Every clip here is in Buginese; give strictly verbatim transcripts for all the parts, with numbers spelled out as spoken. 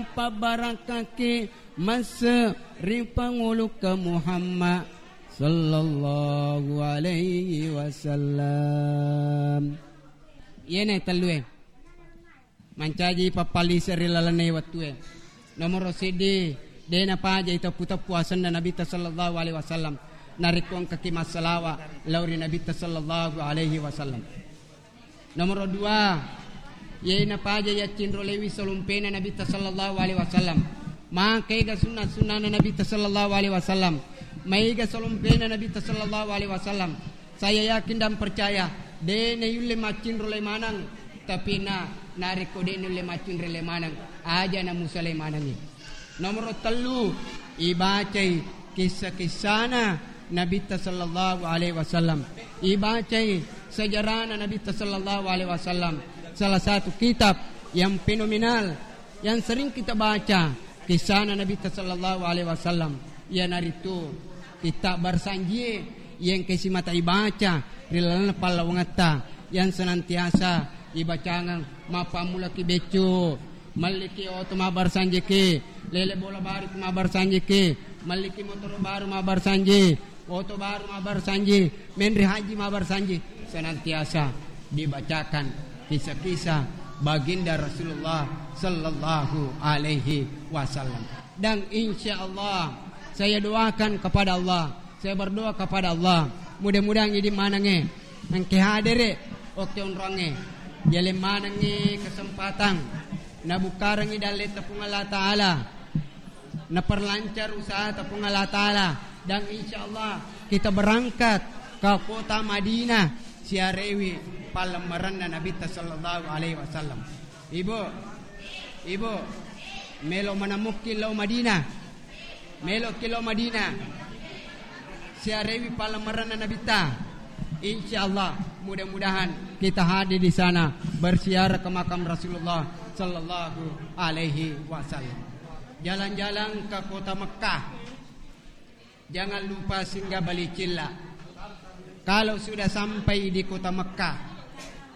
Pabbarakkaki masse ri panguluka Muhammad sallallahu alaihi wasallam. Iyena tellue. Mancaji pappalise ri lalenna wettue. Nomoro siddi, de napajai teppu-teppu asenna Nabitta sallallahu alaihi wasallam. Narekko engkaki massalawa lao ri Nabitta sallallahu alaihi wasallam. Nomoro dua, iye napaja yaccinrolewi salompena Nabitta sallallahu alaihi wasallam. Maka ega sunna-sunnana Nabitta sallallahu alaihi wasallam. Maega salompena Nabitta sallallahu alaihi wasallam. Saya yakin dan percaya, de nayulle maccinrole maneng, tapi na, narekko de nulle maccinrole maneng, aja namusalai manengngi. Nomoro tellu, ibacai kissa-kissana Nabitta sallallahu alaihi wasallam. Ibacai sejarahna Nabitta sallallahu alaihi wasallam. Salah satu kitab yang fenomenal yang sering kita baca kissana Nabitta sallallahu alaihi wasallam, iyanaritu kitab Barsanjie yang engka simata ibaca ri lalenna pallawangetta yang senantiasa ibacangeng mappammulaki beccu. Melliki oto mabbarsanjiki, lele bola baru mabbarsanjiki, melliki motoro baru mabbarsanji, oto baru mabbarsanji, menri haji mabbarsanji, senantiasa dibacakan kisah-kisah baginda Rasulullah sallallahu alaihi wasallam. Dan insya Allah, saya doakan kepada Allah, saya berdoa kepada Allah, mudah-mudahan idi manange engke hadere okke onronge, yaleng manengngi kesempatan nabukkarengngi dalle tepung Allah Ta'ala, naperlancar usaha tepung Allah Ta'ala, dan insya Allah kita berangkat ke kota Madinah siarewi pallemmerenna Nabitta sallallahu alaihi wasallam. Ibu, ibu, melo manamukki lao Madinah, melo ki lao Madinah, siarewi pallemmerenna Nabitta. Insya Allah, mudah-mudahan kita hadir di sana berziarah ke makam Rasulullah sallallahu alaihi wasallam. Jalan-jalan ke kota Mekah. Jangan lupa singgah beli cilla. Kalau sudah sampai di kota Mekah,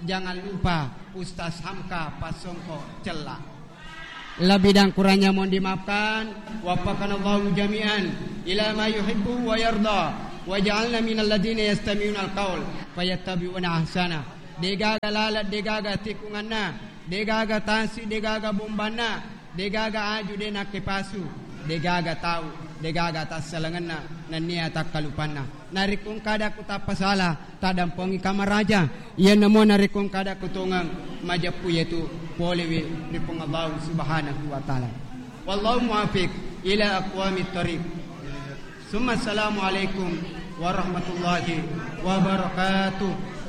jangan lupa Ustaz Hamka pasongko cella. Lebih dan kurangnya mohon dimaafkan. Waffaqanallahu jami'an ila ma yuhibbu wa yarda. Waj'alna minal ladzina yastami'unal qaul fayattabi'una ahsana. Degaga lalat, degaga tikunganna, degaga tasi, degaga bombanna, degaga aju de nakkepasu, degaga tau, degaga tassalengenna, nennia takkalupanna. Narekko engka ada ku tappasala, tadampongi kamaraja. Iyanamo narekko engka ada ku tongeng majeppu, yaitu polewi ri Puang Allah Subhanahu wa Ta'ala. Wallahu muwaffiq ila aqwamit thariq. Summa assalamu alaikum warahmatullahi wabarakatuh.